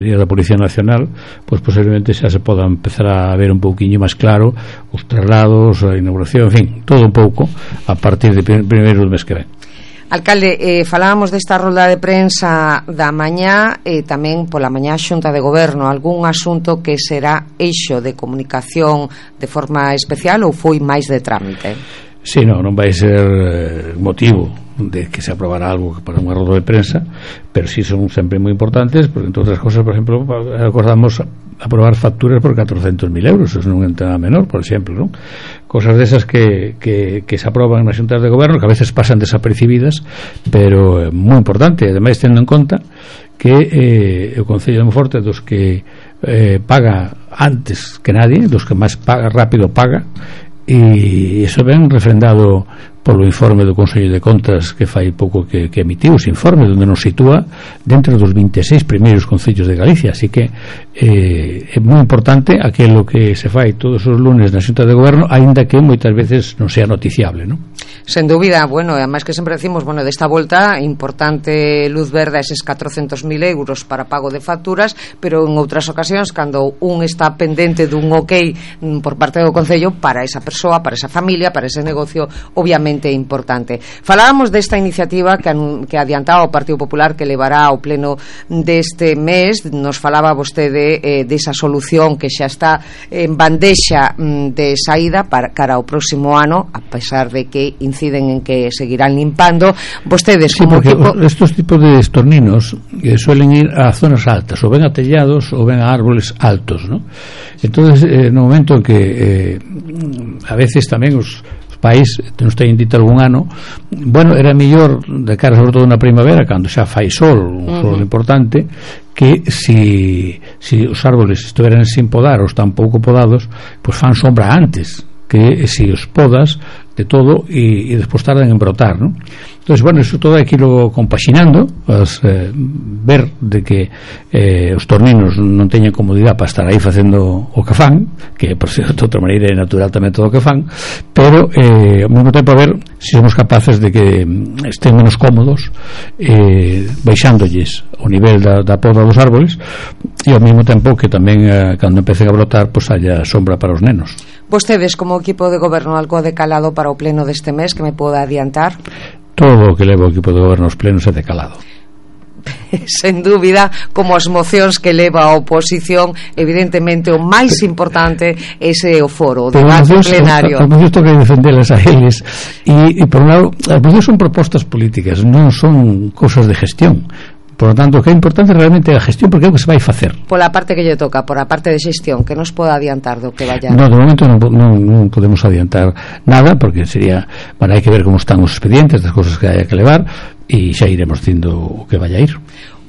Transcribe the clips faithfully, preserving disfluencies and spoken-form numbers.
da Policía Nacional, pois posiblemente xa se poda empezar a ver un pouquiño máis claro os traslados, a inauguración, en fin, todo un pouco a partir de primeiro do mes que ven. Alcalde, eh, falábamos desta rolda de prensa da mañá e eh, tamén pola mañá Xunta de Goberno, algún asunto que será eixo de comunicación de forma especial ou foi máis de trámite? Sí, non, non vai ser eh, motivo de que se aprobara algo para unha roda de prensa, pero sí son sempre moi importantes, porque entre outras cosas, por exemplo, acordamos aprobar facturas por catrocentos mil euros, eso non é un tema menor, por exemplo, non? Cosas desas que, que, que se aproban nas xuntas de goberno, que a veces pasan desapercibidas, pero é moi importante, ademais tendo en conta que eh, o Concello de Monforte dos que eh, paga antes que nadie, dos que máis paga, rápido paga, e iso ben refrendado polo informe do Consello de Contas que fai pouco que, que emitiu ese informe onde nos sitúa dentro dos vinte e seis primeiros concellos de Galicia, así que eh, é moi importante aquilo que se fai todos os lunes na Xunta de Goberno, aínda que moitas veces non sea noticiable, non? Sen dúbida, bueno, además que sempre decimos, bueno, desta volta importante luz verde a eses catrocentos mil euros para pago de facturas, pero en outras ocasións cando un está pendente dun ok por parte do Concello para esa persoa, para esa familia, para ese negocio, obviamente importante. Falábamos desta iniciativa que, que adiantaba o Partido Popular que levará ao pleno deste mes. Nos falaba vostede eh, desa solución que xa está en bandexa mm, de saída para cara ao próximo ano, a pesar de que inciden en que seguirán limpando. Vostedes sí, como equipo... estos tipos de estorninos eh, suelen ir a zonas altas, ou ben a tellados ou ben a árboles altos, ¿no? Entonces, eh, no momento en que eh, a veces tamén os país, nos teñen dito algún ano, bueno, era mellor de cara sobre todo na primavera, cando xa fai sol, un sol uh-huh. importante, que si, si os árboles estiveran sin podar ou están pouco podados, pois fan sombra antes que si os podas de todo e, e despois tardan en brotar, ¿no? Entonces, bueno, eso todo hai que irlo compaxinando, as, eh, ver de que eh, os torninos non teñen comodidade para estar aí facendo o que fan, que por ser de outra maneira é natural tamén todo o que fan, pero eh, ao mesmo tempo a ver se somos capaces de que estén menos cómodos eh, baixándolles o nivel da, da poda dos árboles e ao mesmo tempo que tamén eh, cando empecen a brotar pois haya sombra para os nenos. Vostedes como equipo de goberno algo de calado para o pleno deste mes que me poda adiantar? Todo o que leva o equipo de goberno aos plenos é de calado. Sen dúbida, como as mocións que leva a oposición, evidentemente o máis importante é ese o foro, o debate plenario. As mocións toca defendelas a eles e, e por un lado, as mocións son propostas políticas, non son cosas de gestión. Por lo tanto, o que é importante realmente é a gestión, porque é o que se vai facer. Pola parte que lle toca, por a parte de xestión, que nos poda adiantar do que vaya. No, de momento non, non, non podemos adiantar nada, porque sería, bueno, hai que ver como están os expedientes das cosas que haya que levar e xa iremos dicindo o que vaya a ir.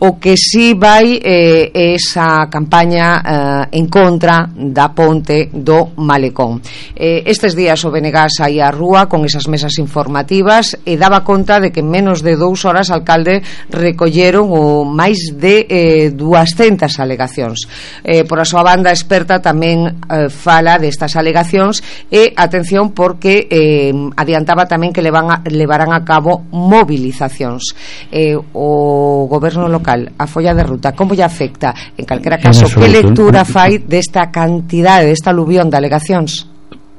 O que si vai é eh, esa campaña eh, en contra da ponte do Malecón. Eh, estes días o B N G saí á rúa con esas mesas informativas e daba conta de que en menos de dous horas alcalde recolleron o máis de eh, duascentas alegacións. Eh, por a súa banda experta tamén eh, fala destas alegacións e atención porque eh, adiantaba tamén que levan a, levarán a cabo movilizacións. Eh, o goberno local, a folla de ruta, como lle afecta? En calquera caso, que lectura fai desta cantidade, desta aluvión de alegacións?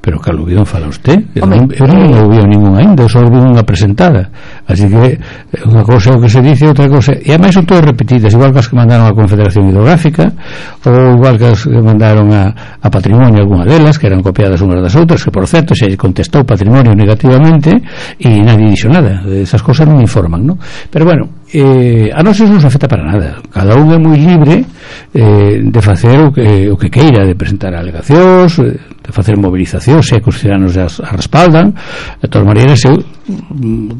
Pero que aluvión fala usted? Eu non, eu non aluvión ningún ainda, só aluvión unha presentada, así que unha cosa é o que se dice, outra cosa, e ademais son todas repetidas, igual que as que mandaron a Confederación Hidrográfica ou igual que as que mandaron a, a Patrimonio, algunha delas que eran copiadas unhas das outras, que por certo se contestou Patrimonio negativamente e nadie dixo nada, esas cosas non informan, ¿no? Pero bueno, eh, a nós non nos afecta para nada, cada un é moi libre eh, de facer o que, o que queira, de presentar alegacións, de facer movilización, se é que os ciudadanos as, as respaldan. De todas maneiras, eu,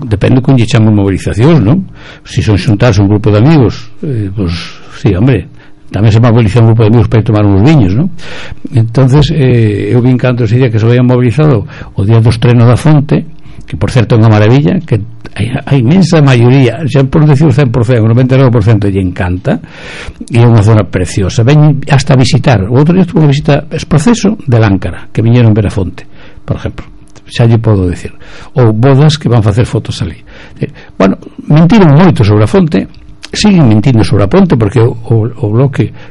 depende con lle chamo movilizacións, non? Se son xuntarse un grupo de amigos, eh, pues, sí, hombre, tamén se moviliza un grupo de amigos para ir tomar uns viños, non? Entonces, eh, eu vin canto ese día que se habían movilizado o día dos trenos da Fonte, que por certo é unha maravilla, que a inmensa maioría, xa por decir o cen por cento, o noventa e nove por cento lle encanta, e é unha zona preciosa, ven hasta visitar. O outro día estuvo a visita es proceso de Láncara, que viñeron ver a Fonte, por exemplo, xa lle podo decir, ou bodas que van facer fotos ali. Bueno, mentiron moito sobre a Fonte, siguen mentindo sobre a ponte, porque o, o, o bloque